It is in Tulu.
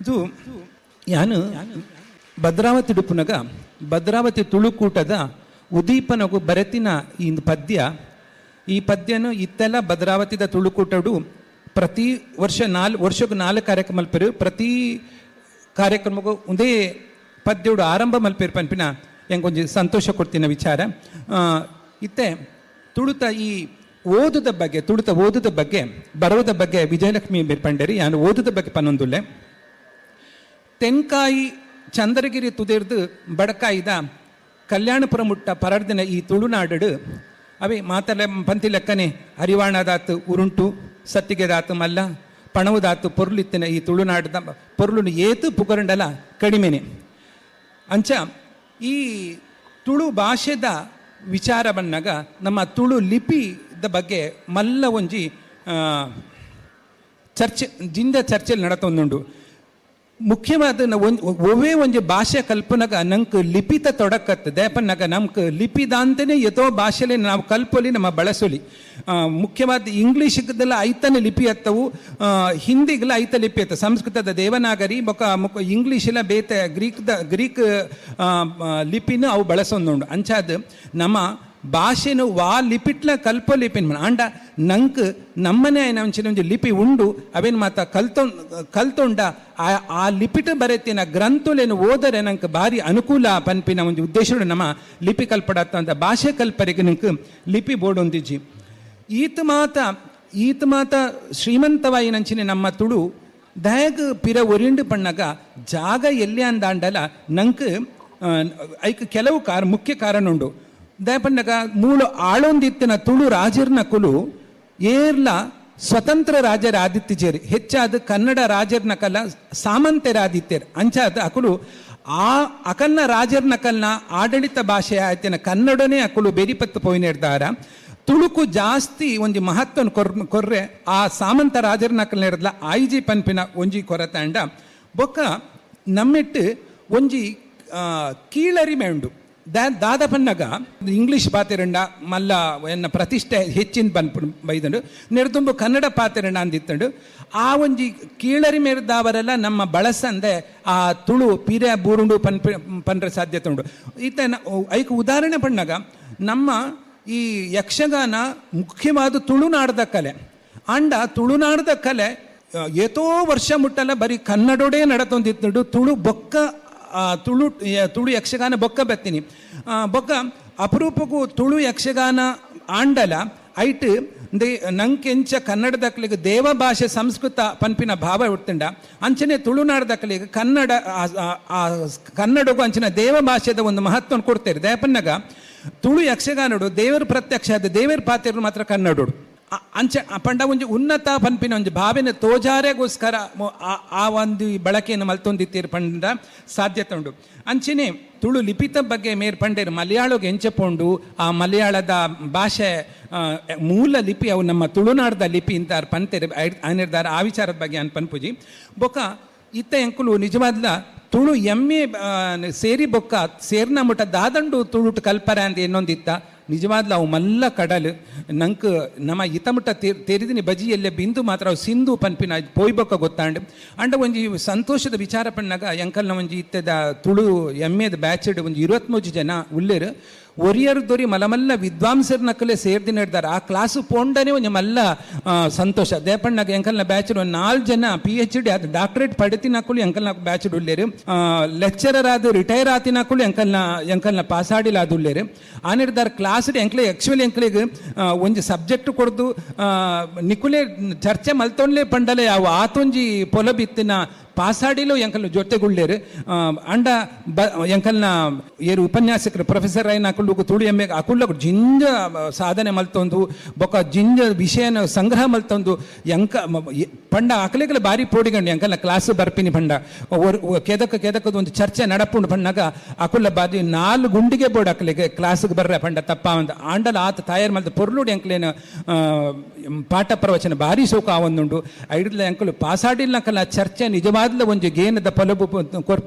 ಇದು ಯಾನು ಭದ್ರಾವತಿ ಡುಪ್ಪುನಗ ಭದ್ರಾವತಿ ತುಳುಕೂಟದ ಉದೀಪನಗು ಬರೆತಿನ ಈ ಪದ್ಯ. ಈ ಪದ್ಯನು ಇತ್ತೆಲ್ಲ ಭದ್ರಾವತಿದ ತುಳುಕೂಟಡು ಪ್ರತಿ ವರ್ಷ 4 ವರ್ಷಕ್ಕೂ 4 ಕಾರ್ಯಕ್ರಮ ಮಲ್ಪೆರು. ಪ್ರತಿ ಕಾರ್ಯಕ್ರಮಕ್ಕೂ ಒಂದೇ ಪದ್ಯೋಡು ಆರಂಭ ಮಲ್ಪೇರು ಪನ್ಪಿನ ಎಂಕೊಂಜಿ ಸಂತೋಷ ಕೊಡ್ತಿನ ವಿಚಾರ. ಇತ್ತೆ ತುಳುತ ಈ ಓದುದ ಬಗ್ಗೆ, ತುಳುತ ಓದುದ ಬಗ್ಗೆ, ಬರೋದ ಬಗ್ಗೆ ವಿಜಯಲಕ್ಷ್ಮಿ ಪಂಡೇರಿ ಯಾನು ಓದುದ ಬಗ್ಗೆ ಪನ್ನೊಂದುಲ್ಲೆ. ತೆನ್ಕಾಯಿ ಚಂದ್ರಗಿರಿ ತುದಿರ್ದು ಬಡಕಾಯಿದ ಕಲ್ಯಾಣಪುರ ಮುಟ್ಟ ಪರಡ್ದಿನ ಈ ತುಳುನಾಡು ಅವೇ ಮಾತಲೆ ಪಂತಿ ಲೆಕ್ಕನೆ ಅರಿವಾಣದಾತು ಉರುಂಟು, ಸತ್ತಿಗೆದಾತು ಮಲ್ಲ, ಪಣವುದಾತು ಪೊರ್ಲಿತ್ತಿನ ಈ ತುಳುನಾಡದ ಪೊರ್ಲುನು ಏತು ಪುಗರಂಡಲ ಕಡಿಮೆನೆ. ಅಂಚ ಈ ತುಳು ಭಾಷೆದ ವಿಚಾರ ಬಂದಾಗ ನಮ್ಮ ತುಳು ಲಿಪಿದ ಬಗ್ಗೆ ಮಲ್ಲ ಒಂಜಿ ಚರ್ಚೆ ಜಿಂದ ಚರ್ಚೆಯಲ್ಲಿ ನಡತೊಂದುಂಡು. ಮುಖ್ಯವಾದ ಒವ್ವೇ ಒಂಜಿ ಭಾಷೆ ಕಲ್ಪನಾಗ ನಂಗೆ ಲಿಪಿತ ತೊಡಕತ್ತೆ. ದೇಪನ್ನಾಗ ನಮ್ಗೆ ಲಿಪಿದಾಂತನೇ ಎತೋ ಭಾಷೆಲೆ ನಾವು ಕಲ್ಪೊಲಿ, ನಮ್ಮ ಬಳಸೊಲಿ. ಮುಖ್ಯವಾದ ಇಂಗ್ಲೀಷ್ಗೆಲ್ಲ ಐತನೇ ಲಿಪಿ ಹತ್ತವು, ಹಿಂದಿಗೆಲ್ಲ ಐತ ಲಿಪಿ ಅತ್ತ, ಸಂಸ್ಕೃತದ ದೇವನಾಗರಿ ಬೊಕ ಮುಖ ಇಂಗ್ಲೀಷೆಲ್ಲ ಬೇತೆ ಗ್ರೀಕ್ ಲಿಪಿನೂ ಅವು ಬಳಸೊಂದುಂಡು. ಅಂಚಾದ ನಮ್ಮ ಭಾಷೆನು ವಾ ಲಿಪಿಟ್ಲ ಕಲ್ಪೊ ಲಿಪಿನ ಆಂಡ ನಂಕ್ ನಮ್ಮನೆ ಒಂಚಿನ ಒಂಜಿ ಲಿಪಿ ಉಂಡು ಅವೇನು ಮಾತ ಕಲ್ತೊಂಡ ಆ ಲಿಪಿಟ್ ಬರೆತಿನ ಗ್ರಂಥಲೇನು ಓದರೆ ನಂಗೆ ಭಾರಿ ಅನುಕೂಲ ಪನ್ಪಿನ ಒಂದು ಉದ್ದೇಶ ನಮ್ಮ ಲಿಪಿ ಕಲ್ಪಡತ್ತ ಭಾಷೆ ಕಲ್ಪರಿಗೆ ನಂಗೆ ಲಿಪಿ ಬೋರ್ಡ್ ಒಂದಿಜ್ಜಿ. ಈತ ಮಾತ ಶ್ರೀಮಂತವಾಯಿನಂಚಿನ ನಮ್ಮ ತುಳು ದಯಗ್ ಪಿರ ಒರಿಂಡು ಪಣ್ಣಾಗ ಜಾಗ ಎಲ್ಲಿ ಅಂದಾಂಡಲ ನಂಗೆ ಐಕ್ ಕೆಲವು ಮುಖ್ಯ ಕಾರಣ ಉಂಡು. ದಯಪಣ್ಣಗ ಮೂಲ ಆಳೊಂದಿತ್ತಿನ ತುಳು ರಾಜರ್ನ ಕುಲು ಏರ್ಲ ಸ್ವತಂತ್ರ ರಾಜರ ಆದಿತ್ಯಜೇರಿ ಹೆಚ್ಚಾದ ಕನ್ನಡ ರಾಜರ್ನ ಕಲ ಸಾಮಂತರಾದಿತ್ಯರು. ಅಂಚಾದ ಅಕುಲು ಆ ಅಕಲ್ನ ರಾಜರ್ನ ಕಲ್ನ ಆಡಳಿತ ಭಾಷೆ ಆಯ್ತಿನ ಕನ್ನಡನೇ ಅಕುಲು ಬೆರಿಪತ್ತು ಪೋಯಿನಿರ್ದಾರ. ತುಳುಕು ಜಾಸ್ತಿ ಒಂಜಿ ಮಹತ್ವನ ಕೊರ್ರೆ ಆ ಸಾಮಂತ ರಾಜರ್ನ ಕಲ್ನ ಇರದ್ಲ ಆಯ್ಜಿ ಪನ್ಪಿನ ಒಂಜಿ ಕೊರತಾಂಡ ಬೊಕ್ಕ ನಮ್ಮಿಟ್ಟು ಒಂಜಿ ಕೀಳರಿಮೆ ಉಂಡು. ದಾದ ಪನ್ನಗ ಇಂಗ್ಲೀಷ್ ಪಾತಿರಂಡ ಮಲ್ಲ ಎನ್ನ ಪ್ರತಿಷ್ಠೆ ಹೆಚ್ಚಿನ ಬನ್ಪು ಬೈದಂಡು ನೆರೆದುಂಬು ಕನ್ನಡ ಪಾತಿರಂಡ ಅಂದಿತ್ತಂಡು. ಆ ಒಂಜಿ ಕೀಳರಿಮೆರ್ದಾವರೆಲ್ಲ ನಮ್ಮ ಬಳಸಂದೆ ಆ ತುಳು ಪಿರೆ ಬೂರುಂಡು ಪನ್ರ ಸಾಧ್ಯತೆ ಉಂಡು. ಈತ ಐಕ್ ಉದಾಹರಣೆ ಪಣ್ಣಾಗ ನಮ್ಮ ಈ ಯಕ್ಷಗಾನ ಮುಖ್ಯವಾದ ತುಳುನಾಡದ ಕಲೆ. ಅಂಡ ತುಳುನಾಡದ ಕಲೆ ಏತೋ ವರ್ಷ ಮುಟ್ಟಲ್ಲ ಬರೀ ಕನ್ನಡೋಡೇ ನಡತೊಂದಿತ್ತಂಡು. ತುಳು ಬೊಕ್ಕ ತುಳು ತುಳು ಯಕ್ಷಗಾನ ಬೊಕ್ಕ ಬತ್ತೀನಿ ಬೊಕ್ಕ ಅಪರೂಪಕ್ಕೂ ತುಳು ಯಕ್ಷಗಾನ ಆಂಡಲ ಐಟ್ ನಂಕೆಂಚ ಕನ್ನಡದಕ್ಕಲಿಗೆ ದೇವ ಭಾಷೆ ಸಂಸ್ಕೃತ ಪನ್ಪಿನ ಭಾವ ಹುಟ್ಟಂಡ. ಅಂಚನೆ ತುಳುನಾಡದಕ್ಕಲಿಗೆ ಕನ್ನಡ ಕನ್ನಡಗೂ ಅಂಚಿನ ದೇವ ಭಾಷೆದ ಒಂದು ಮಹತ್ವವನ್ನು ಕೊಡ್ತೇವೆ. ದಯಪನ್ನಾಗ ತುಳು ಯಕ್ಷಗಾನಡು ದೇವರ ಪ್ರತ್ಯಕ್ಷ ಆದ ದೇವರ ಪಾತ್ರ ಮಾತ್ರ ಕನ್ನಡೋಡು ಅಂಚ ಪಂಡ ಒಂಜಿ ಉನ್ನತ ಪನ್ಪಿನ ಒಂಜಿ ಭಾವನೆ ತೋಜಾರೆಗೋಸ್ಕರ ಆ ಒಂದು ಬಳಕೆಯನ್ನು ಮಲ್ತೊಂದಿತ್ತೀರು ಪಂಡ ಸಾಧ್ಯತೆ ಉಂಡು. ಅಂಚನೆ ತುಳು ಲಿಪಿತ ಬಗ್ಗೆ ಮೇರ್ ಪಂಡೇರು ಮಲಯಾಳಗೆ ಎಂಚಪೋಂಡು ಆ ಮಲಯಾಳದ ಭಾಷೆ ಮೂಲ ಲಿಪಿ ಅವು ನಮ್ಮ ತುಳುನಾಡದ ಲಿಪಿ ಅಂತ ಪಂತೇರು ನಿರ್ಧಾರ ಆ ವಿಚಾರದ ಬಗ್ಗೆ ಅನ್ ಪನ್ಪುಜಿ. ಬೊಕ್ಕ ಇತ್ತ ಎಂಕುಲು ನಿಜವಾದ್ಲ ತುಳು ಎಮ್ಮೆ ಸೇರಿ ಬೊಕ್ಕ ಸೇರ್ನ ಮುಟ್ಟ ದಾದಂಡು ತುಳುಟು ಕಲ್ಪರ ಅಂತ ಇನ್ನೊಂದಿತ್ತ ನಿಜವಾದ್ಲ ಅವು ಮಲ್ಲ ಕಡಲು ನಂಗೆ ನಮ್ಮ ಇತಮುಟ್ಟ ತೆರಿದಿನಿ ಬಜಿಯಲ್ಲೇ ಬಿಂದು ಮಾತ್ರ ಅವು ಸಿಂಧು ಪನ್ಪಿನ ಪೋಯ್ಬೊಕ್ಕ ಗೊತ್ತಾಂಡು. ಅಂಡ ಒಂಜಿ ಸಂತೋಷದ ವಿಚಾರ ಪಣ್ಣಾಗ ಎಂಕಲ್ನ ಒಂಜಿ ಇತ್ತದ ತುಳು ಎಮ್ಮೆದ ಬ್ಯಾಚಡ್ ಒಂಜಿ 23 ಜನ ಉಲ್ಲೇರು ಒರಿಯರ್ ದೊರಿ ಮಲಮಲ್ಲ ವಿದ್ವಾಂಸರ ನಕಲೆ ಸೇರ್ದಿ ನಡೆದಾರೆ. ಆ ಕ್ಲಾಸು ಪೋಂಡನೆ ಒಂಜಿ ಮಲ್ಲ ಸಂತೋಷ. ದೇಪಣ್ಣಗ ಎಂಕಲ್ನ ಬ್ಯಾಚ್ ಒಂದು 4 ಜನ PhD ಅದು ಡಾಕ್ಟರೇಟ್ ಪಡೆತಿನಕುಲು ಎಂಕಲ್ನ ಬ್ಯಾಚ್ ಉಲ್ಲೇರು, ಲೆಕ್ಚರರ್ ಆದ ರಿಟೈರ್ ಆತಿನಕುಲು ಎಂಕಲ್ನ ಪಾಸಾಡಿಲ ಅದು ಉಲ್ಲೇರು. ಆ ನಿರ್ಧಾರ ಕ್ಲಾಸ್ ಎಂಕ್ಲೆ ಆಕ್ಚುಲಿ ಎಂಕ್ಲೆಗ್ ಒಂಜಿ ಸಬ್ಜೆಕ್ಟ್ ಕೊಡ್ದು ನಿಕುಲೆ ಚರ್ಚೆ ಮಲ್ತೊಂಡ್ಲೆ ಪಂಡಲೆ ಅವು ಆತೊಂಜಿ ಪೊಲಬಿತ್ತಿನ ಪಾಸಾಡಿಲು ಎಂಕಲ್ನ ಜೊತೆಗುಳ್ಳೇರು. ಅಂಡ ಬ ಎಂಕಲ್ನ ಏರು ಉಪನ್ಯಾಸಕರು ಪ್ರೊಫೆಸರ್ ಆಯ್ನ ಅಕುಲು ತುಳು ಎಮ್ಮೆ ಅಕುಲ್ಲ ಜಿಂಜ ಸಾಧನೆ ಮಲ್ತೊಂದು ಬೊಕ್ಕ ಜಿಂಜ ವಿಷಯನ ಸಂಗ್ರಹ ಮಲ್ತೊಂದು ಎಂಕ ಪಂಡ ಅಕಲೆಗಲ ಬಾರಿ ಪೋಡಿಗಂಡು ಎಂಕಲ್ನ ಕ್ಲಾಸ್ ಬರ್ಪಿನಿ ಪಂಡ ಕೆದಕ ಕೆದಕದ ಒಂದು ಚರ್ಚೆ ನಡಪುಂಡು ಪಣ್ಣಾಗ ಅಕುಲ್ಲ ಬಾರಿ 4 ಗುಂಡಿಗೆ ಬೋರ್ಡ್ ಅಕಲೆಗೆ ಕ್ಲಾಸ್ಗೆ ಬರ್ರೆ ಪಂಡ ತಪ್ಪ ಒಂದು ಆಂಡಲ ಆತ ತಾಯರ್ ಮಲ್ತ ಪೊರ್ಲುಡು ಎಂಕಲೇನು ಪಾಠ ಪ್ರವಚನ ಭಾರಿ ಸೋಕ ಆವೊಂದುಂಡು. ಐಡ್ಲ ಎಂಕಲು ಪಾಸಾಡಿಲ್ಲ ಚರ್ಚೆ ನಿಜವಾದ್ಲ ಒಂಜಿ ಗೇನದ ಪೊಲಬು ಕೊರ್ಪು.